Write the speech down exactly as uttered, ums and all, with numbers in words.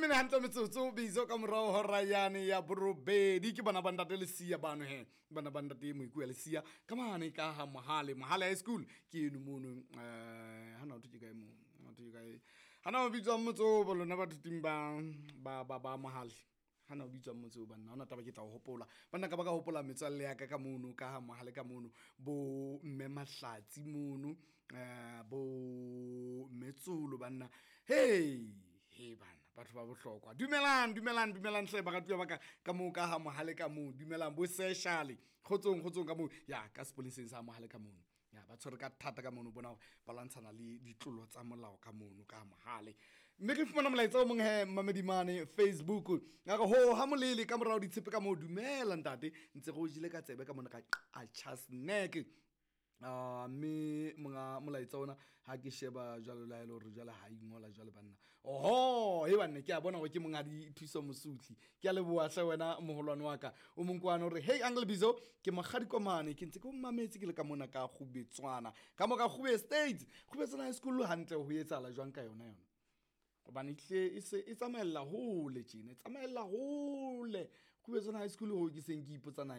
mene hantle metsotso Bizo ka morao hora yane ya borobedi. Ke bana ba ntate Lesia bano he, bana ba ntate Moikuya Lesia ka mane ka ha Mohale, Mohale High School ke eno mono. Eh, hana ho thwe ke kae moo, hana ho thwe ke kae, hana ho bitswang motse oo bo lona bathuting ba ba ba ba Mohale, hana ho bitswang motse oo banna, ha hona taba, ke tla o hopola banna, ka ba ka hopola metswalle ya ka ka mono ka ha Mohale ka mono, bo mme Mahlatsi mono, eh bo mme Tsolo banna, hey he bana, batho ba bohlokwa, dumelang dumelang dumelang hle baratuwa ba ka ka moo ka ha Mohale ka moo, dumelang bo seshale, kgotsong kgotsong ka moo ya ka sepoleseng sa Mohale ka mono, ya ba tshwere ka thata ka mono, bona hore ba lwantshana le ditlolo tsa molao ka mono ka Mohale. Mme re fumana molaetsa o mong he mamedimane Facebook, a re ho ha molele ka morao ditshepe ka moo, dumela ntate, ntse re o jele ka tsebe ka mona ka Qacha's Nek. Ah, mme monga molaetsa ona ha ke sheba jwalo la ele hore jwale ha ingola jwale banna, oho he banna, ke a bona hore ke monghadi Thuso Mosutli, ke a leboha hle wena moholwane wa ka. O mong kwana hore hey Uncle Bizo, ke mokgadi komane, ke ntse ke o mametse ke le ka mona ka Kgubetswana, ka mo ka Kgube State, Kgubetswana High School, hantle ho etsahala jwang ka yona yona, hobane ehlile e se e tsamaella hole tjena, e tsamaella hole Kgubetswana High School, ho ke seng ke ipotsa na.